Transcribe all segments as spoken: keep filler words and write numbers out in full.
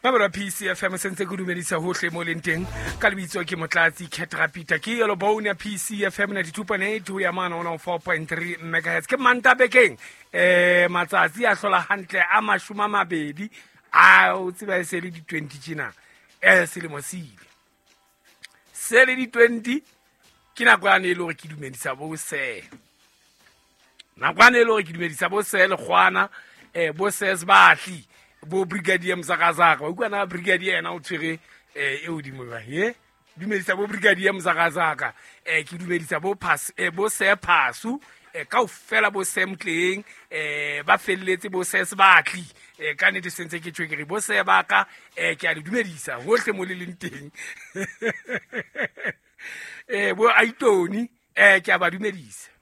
Mabelo P C F M sentse ke dumedisa hohle mo leng teng ka lebitso ke Motlatsi Cat Rapita ke yellow bone ya P C F M ninety-two point eight ho ya mane one oh four point three megahertz ke manta bekeng eh matsatsi a hlola hantle a mashome a mabedi a o tseba e se le di twenty tjena eh selemo se ile se le di twenty ke nako ya ne e le hore ke dumedisa bo se nako ya ne e le hore ke dumedisa bo se le kgwana eh bo se batli bo brigadier Mzakazaka o bua na brigadier ena o tshwere eh e hodimo ba he dumedisa bo brigadier Mzakazaka eh ke dumedisa bo pass eh bo se phasu eh kaofela bo semtleng eh ba felletse bo se batli eh ka nete sentse ke tshwere bo se baka eh ke a le dumedisa hohle mo le leng teng eh bo Aitoni eh ke a ba dumedisa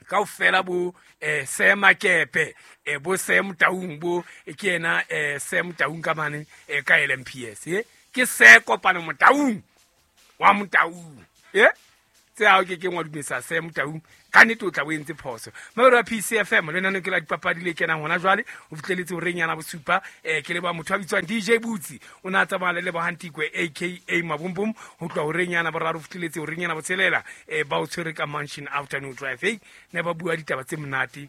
kaofela bo eh Semakepe eh bo Sam Taung bo ke ena eh Sam Taung ka mane eh ka L M P S eh ke se kopano Motaung wa Motaung eh tse ha ke ke ngwa dumedisa Sam Taung ka nete o tla o entse phoso mabelo a P C F M le nna ke la dipapadi le kenang hona jwale o fihleletse ho reng yana bosupa eh ke le ba motho a bitswang D J Butsi o na tsamaya le Bohantikwe A K A Mabumbum ho tloha ho reng yana boraro fihleletse ho reng yana botshelela eh ba o tshwere ka Mansion Afternoon Drive eh ne ba bua ditaba tse monate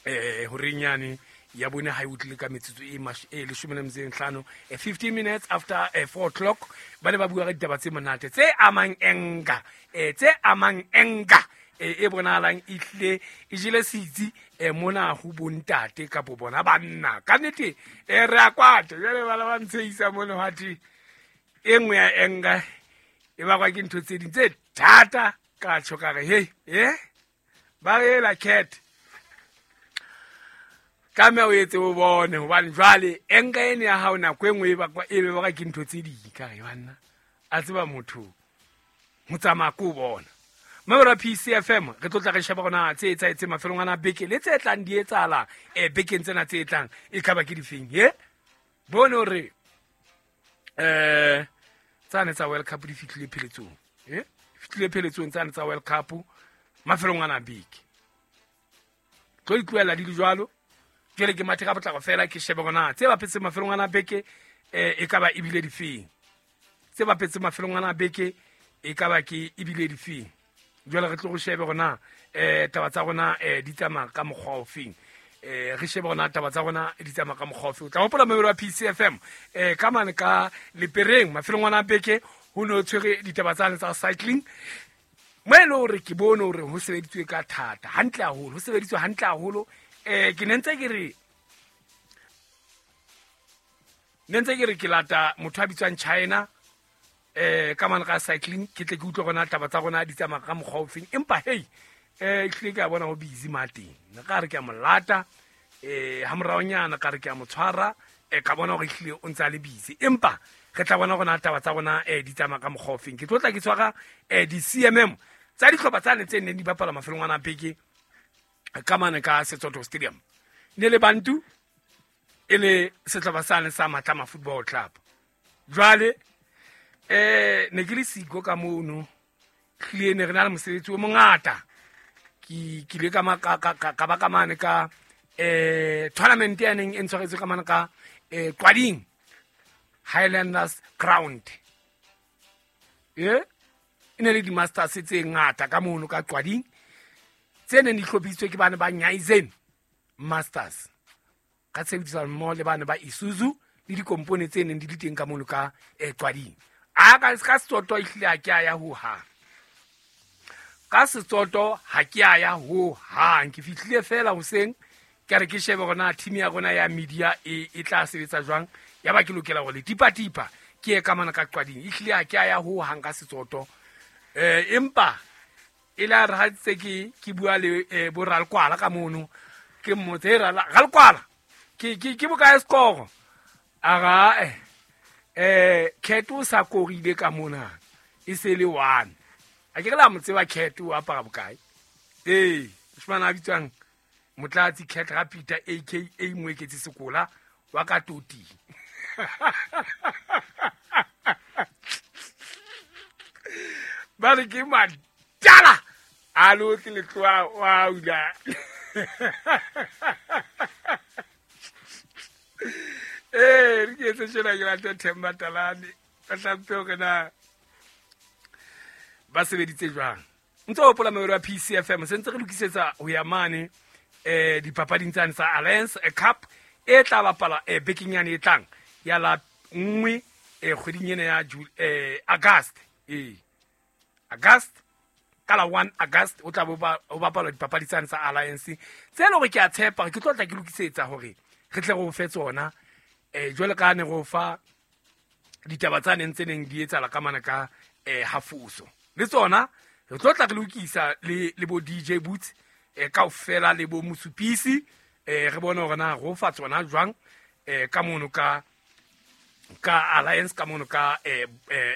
eh ho reng yane ya bone ha e utlile ka metsotso e e leshome le metso e mehlano fifteen minutes after four o'clock ba ne ba bua ka ditaba tse monate tse amang enga eh tse amang enga e bonahalang e hlile e jele setsi mona ho bontate kapo bona banna ka nnete e re a kwata jwale ba ba ntsheisa mona hwa e nngwe ya enga e bakwa ke ntho tse ding tse thata ka tjho ka re hey eh ba ela cat ka me o etse o bone hobane jwale enga ene ya hao nako e nngwe e bakwa e be bakwa ke ntho tse ding ka re banna a tseba motho ho tsamaya ko bona. Mabelo P C F M re tlotla re sheba rona tse etsahetseng mafelong ana beke le tse tlang di etsahala eh bekeng tsena tse tlang e ka ba ke difeng he bone hore eh tsane tsa World Cup di fihlile pheletsong eh fihlile pheletsong tsane tsa World Cup mafelong ana beke tlo itlohela di le jwalo jwale ke mathe ka potlako fela ke shebe rona tse bapetse mafelong ana beke eh e ka ba ebile difeng tse bapetse mafelong ana beke e ka ba ke ebile difeng jwale re tlo go shebe rona eh taba tsa rona eh di tsamaya ka mokgwa o feng eh re shebe rona taba tsa rona di tsamaya ka mokgwa o feng o tla hopola mabelo a P C F M eh ka mane ka Lepereng mafelong ana beke ho no tshwere ditaba tsane tsa cycling mo e le hore ke bone hore ho sebeditswe ka thata hantle haholo ho sebeditswe hantle haholo eh ke ne ntse ke re ne ntse ke re ke lata motho a bitswang China eh ka mane ka cycling ke tle ke utlwe rona taba tsa rona di tsamaya ka mokgwa o feng empa hey eh hlile ke a bona ho busy mateng ne ka re ke a mo lata eh ha moraonyana ka re ke a mo tshwara eh ka bona hore hlile o ntse a le busy empa re tla bona rona taba tsa rona eh di tsamaya ka mokgwa o feng ke tlo tla ke tshwara eh di C M M tsa dihlopha tsa ne tse neng di bapala mafelong ana beke ka mane ka Setsoto Stadium ne le Bantu e le sehlopha sa ne sa Matlama Football Club jwale eh ne ke le siko ka mono hlile ne re na le mosebetsi o mongata ke ke ile ka ka ka ba ka mane ka eh tournament ya neng e ntshwaretswe ka mane ka eh Qwading Highlanders Ground eh e ne le di masters tse ngata ka mono ka Qwading tse neng di hlophisitswe ke bana ba Nyaizen Masters ka tshebedisano mmoho le bana ba Isuzu le dikompone tse neng di le teng ka mono ka eh Qwading a ka ka Setsotho ehlile ha ke a ya ho hang ka Setsotho ha ke a ya ho hang ke fihlile fela hoseng ke re ke shebe rona team ya rona ya media e e tla sebetsa jwang ya ba ke lokela hore le tipa tipa ke ye ka mana ka Qwading ehlile ha ke a ya ho hang ka Setsotho eh empa e la re ha tse ke ke bua le bo Ralkwala ka mono ke mmotse Ralkwala ke ke ke bokae score a ga eh eh Cat o sa korile ka mona e se le one a ke re la mo tseba Cat o apara bokae eh moshimane a bitswang Motlatsi Cat Rapita A K A Moeketsi Sekola wa ka Toti ba re ke madala a lo tle le tloa wa ula Eh, re ke etse tjena ke late Themba Talane. Ba tlampe hore na ba sebeditse jwang. Ntse o hopola mewelo ya P C F M se ntse re lokisetsa ho ya mane eh dipapading tsane tsa Alliance Cup e tla bapala eh bekeng yane e tlang ya la nngwe eh kgweding ena ya eh August eh August ka la one August o tla bo o bapala dipapadi tsane tsa Alliance tse le hore ke a tshepa ke tlo tla ke lokisetsa hore re tle re o fe tsona eh jwale ka ne go fa ditaba tsa neng tse neng di etsala ka mana ka eh hafuso le tsona re tlo tla re lokisa le le bo D J Boots eh kaofela le bo Mosupisi eh re bone hore na go fa tsona jwang eh ka mono ka ka Alliance ka mono ka eh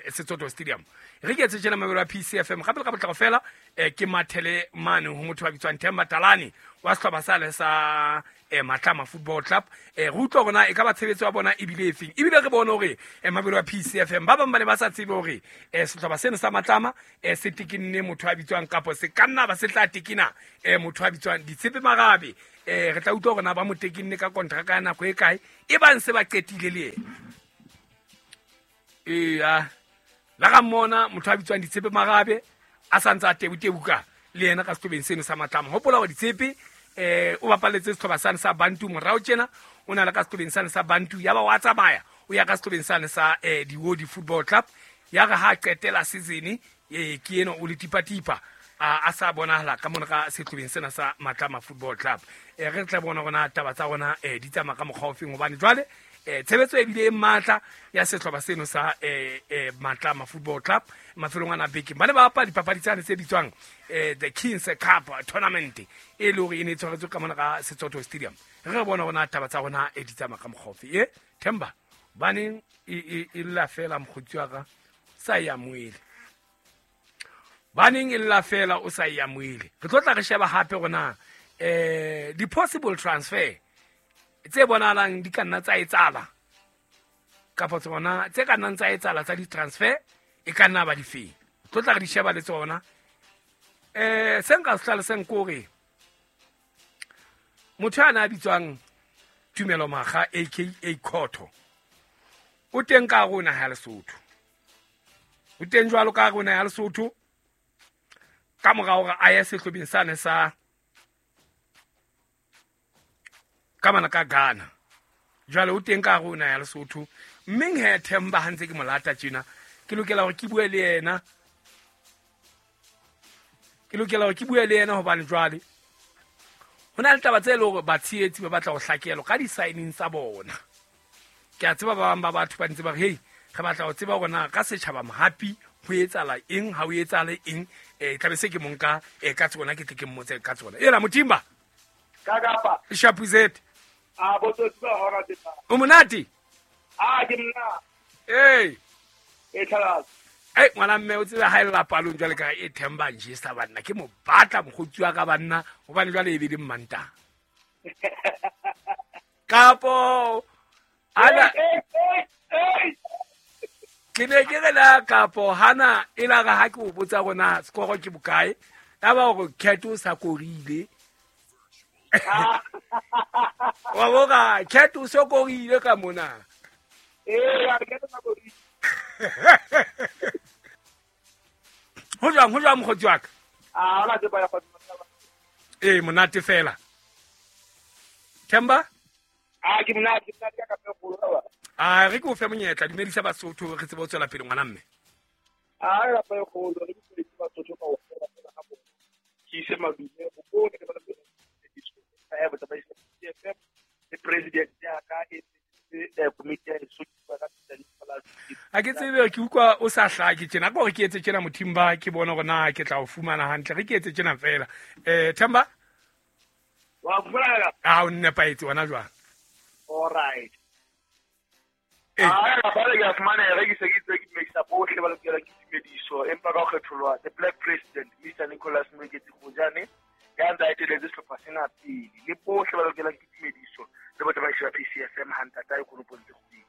Setsoto Stadium. Re ke etse tjena mabelo a P C F M gape le ka botlalo fela eh ke mathele mane ho motho wa bitswang Themba Talane wa sehlopha sa le sa eh Matlama Football Club eh re utlwa rona e ka ba tshebetso ya bona ebile efeng ebile re bone hore eh mabelo a P C F M ba bang ba ne ba sa tsebe hore eh sehlopha sena sa Matlama eh se tekinne motho wa bitswang kapo se ka nna ba se tla tekina eh motho wa bitswang Ditshepe Marabe eh re tla utlwa rona ba mo tekinne ka contract ya nako e kae e bang se ba qetile le yena eh ah la ga mona motho a bitswang Ditshepe Marabe a santse a tebutebuka le yena ka sehlobeng seno sa Matlama. Hopola hore Ditshepe eh o bapaletse sehlopha sane sa Bantu morao tjena o na le ka sehlobeng sane sa Bantu ya ba wa tsamaya o ya ka sehlobeng sane sa eh Diwodi Football Club ya re ha qetela season eh ke eno o le tipatipa a sa bonahala ka mona ka sehlobeng sena sa Matlama Football Club. Eh re tla bona rona taba tsa rona eh di tsamaya ka mokgwa ofeng hobane jwale eh tshebetso e bile e matla ya sehlopha seno sa eh eh Matlama Football Club mafelong ana beke ba ne ba bapala dipapadi tsane tse bitswang eh the Kings Cup tournament e le hore e ne e tshwaretswe ka mona ka Setsoto Stadium. Re bona rona taba tsa rona e di tsamaya ka mokgwa ofe e Themba baneng e e lla fela mokgotsi wa ka sa ya moele baneng e lla fela o sa ya moele re tlo tla re sheba hape rona eh di possible transfer tse bonahalang di ka nna tsa etsala kapa tsona tse ka nnang tsa etsala tsa di-transfer e ka nna ba di feng tlo tla re di sheba le tsona eh se nka se hlalosang ke hore motho a na a bitswang Tumelo Makga aka Khotho o teng ka rona ha Lesotho o teng jwalo ka rona ya Lesotho ka mora hore a ye sehlobeng sane sa ka mana ka Ghana jwale o teng ka rona ya Lesotho mme he Themba ha ntse ke molata tjena ke lokela hore ke bue le yena ke lokela hore ke bue le yena hobane jwale ho na le taba tse leng hore batshehetsi ba batla ho hlakelwa ka di-signing tsa bona. Ke a tseba ba bang ba batho ba ntse ba re hey re batla ho tseba hore na ka setjhaba mohapi ho etsahala eng ha ho etsahale eng eh tlabe se ke monka eh ka tsona ke tle ke mmotse ka tsona ela Motimba ka kapa Shapuzet a botsotsi ba hora tsa o monate a ke nna eh e tlhala eh ngwana mme o tsebe ha ella palong jwale ka e Themba nje sa banna ke mo batla mokgotsi wa ka banna hobane jwale e be di mmanta kapo ana ke ne ke re la kapo hana e la ga ha ke o botsa rona skoro ke bokae ya ba hore Cat o sa korile wa boka Cat o so korile ka mona eh ya Cat o sa korile ho jwang ho jwang mokgotsi wa ka a la tseba ya go eh monate fela Themba a ke monate monate ka ka go ba a re ke o fe monyetla dumedisa Basotho re tsebe ho tswela pele ngwana mme a ra pa go lo re dumedisa Basotho ka o fela fela ga bona ke ise madume go go ke ba le ba ba le president ya ka e a ke tsebe ke utlwa o sa hlake tjena ka hore ke etse tjena Mothimba ke bone hore na ke tla o fumana hantle re ke etse tjena fela eh Themba wa fumana a o nnepaetse wona jwang all right ah ba le ya fumana re ke se ke tse ke dumedisa bohle ba lokela ke dumediso empa ka ho kgetholwa the black president Mister Nicholas Moeketsi Kgojane ya ntse a eteletse sehlopha sena pele le bohle ba lokela ke dumediso le botsamaisi ba P C F M hantata e konopong tse kgwedi.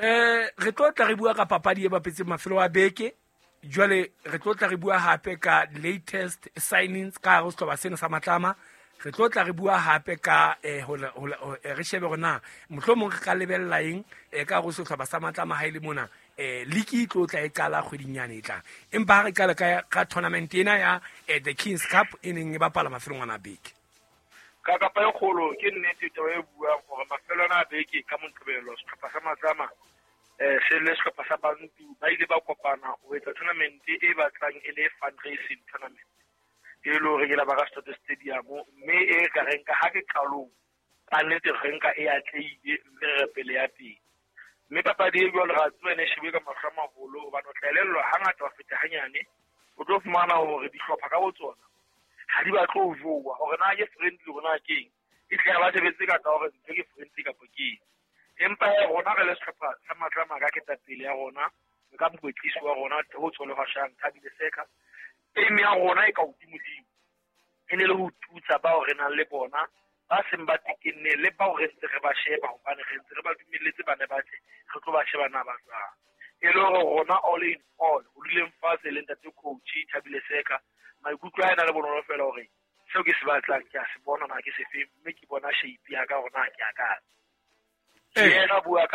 Eh re tlo tla re bua ka papadi e bapetseng mafelo a beke jwale re tlo tla re bua hape ka latest signings ka hare ho sehlopha sena sa Matlama Re tlo tla re bua hape ka eh re shebe hore na mohlomong re ka lebella eng ka go sehlopha sa Matlama ha ile mona eh league e tlo tla e qala kgweding yane e tlang. Empa ha re qala ka ka tournament ena ya the Kings Cup e neng e bapala mafelong ana beke. Ka kapa e kgolo ke nnete taba e buang hore mafelo ana a beke ka Moqebelo sehlopha sa Matlama eh se le sehlopha sa Bantu ba ile ba kopana ho etsa tournament e batlang e le fundraising tournament e le hore ke la ba ka Stadium mme e ka reng ka ha ke qalong ka nnete re nka e atlehile mme re pele ya teng. Mme papadi e jwalo ra tseba ne shebe ka mahlo a maholo hobane o tla elellwa hangata wa feta hanyane o tlo fumana hore dihlopha ka botsona ha di batle ho jowa hore na ke friendly hore na ke eng e tle ba sebetse ka tsa hore ntho ke friendly kapa ke eng. Empa rona re le sehlopha sa Matlama ka ketapele ya rona ka mokwetlisi wa rona ho tswelo hashang Thabile Seka aim ya rona e ka hodimodimo e ne le ho tutsa bao re nang le bona ba seng ba tekenne le bao re ntse re ba sheba hobane re ntse re ba dumelletse bane ba tle re tlo ba sheba na ba jwang. E le hore rona all in all ho duleng fatshe le ntate coach Thabile Seka maikutlo a ena le bonolo fela hore seo ke se batlang ke a se bona na ke se fe mme ke bona shape ya ka hore na ke ya kae. Yena bua ka